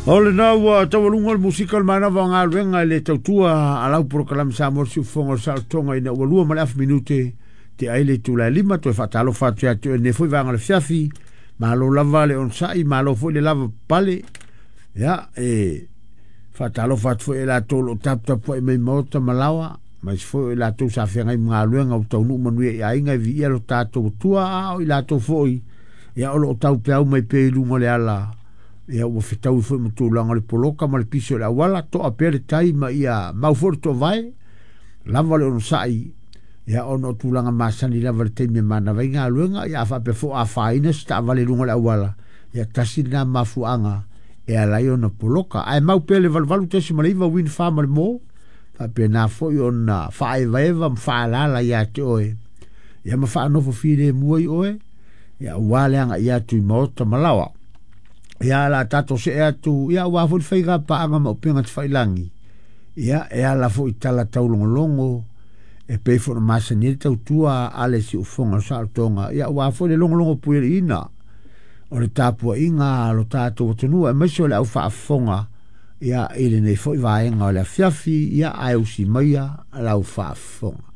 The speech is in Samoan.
O lena ua taualuga le musika o le manava o galuega i le tautua a lau polokalame Samoa le Siufofoga o le Saolotoga ina ua 2.5 minute te ai le itula e 5. Toe faatalofa atu ia te oe i lenei foi vaega o le afiafi. Malo lava le onosai, malo foi le lava papale. Ia, e faatalofa atu foi i latou o lo o taputapuai mai maota ma laoa, ma isi foi o i latou sa feagai ma galuega ua taunuu manuia i aiga e viia lo tatou Atua, a o i latou foi ia o lo o taupeau mai pea i luga o le ala, ia ua fetaui foi ma tulaga o le poloka ma le pisi o le auala, toa pea le tai ma ia mau foi le toovae, lava le onosai, ia ona o tulaga masani lava i le taimi e manava ai galuega, ia a faapea foi o afaina se taavale i luga o le auala, ia tasi lena mafuaaga e ala ai ona poloka. Ae mau pea le 88.9 Win Farm ma le Mo, faapena foi ona faaevaeva ma faalala ia te oe, ia ma faanofo filemu ai oe, ia aua le agai atu i maota ma laoa. Ia la tatou see atu, ia aua foi le faiga paaga ma upega tafailagi, ia e ala foi i tala taulogologo, e pei foi ona masani ai le tautua a le siufofoga o le saolotoga, ia aua foi le logologo puialiiina o le tapuaiga a lo tatou atunuu, aemaise o le au faafofoga ia i lenei foi vaega o le afiafi, ia ae usi maia lau faafofoga.